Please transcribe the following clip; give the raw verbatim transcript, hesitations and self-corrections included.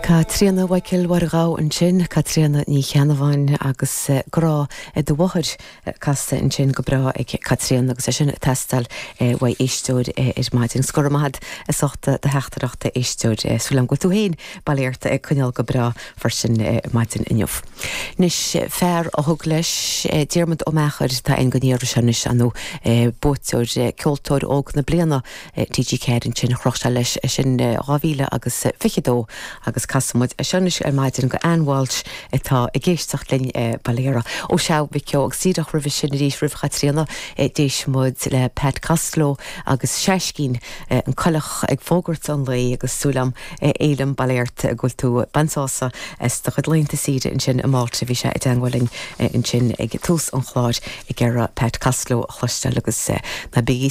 Caitríona Mhichael Mhargá ansin Caitríona Ní Cheannabháin agus eh, grá do mháthair eh, casta ansin go breá ag Caitríona agus é sin ag teastáil uaidh éisteoir ar maidin. Scor amad a sochta de heachtarachta éisteoir súil agam go tú féin bailíirta ag coinneáil go breá freisin maidin inniu. Anois fear a thug leis Diarmuid Ó Meachair tá an gonníar senis anú buaiteoir ceoltóir óg na bliana TG Ceathair ansin chroch leis sin dhá mhíle agus fiche dó agus casfaimid é seo anois ar maidin go Ann Walsh atá ag éisteacht linn Bailera. Ó se bhiceo agus síideach roimh sin arís roimh Chaitríona d'éist muid le Pat Costello agus Seiscín an coileach ag fógairt an lae agus súil agam élam baléirt go bhfuil tú ag baint sásamh as do chuid laethanta saoire ansin i Málta bhí sé i dteagmháil linn ansin ag tús an chláir ag iarraidh Pat Costello a chloisteáil agus na bí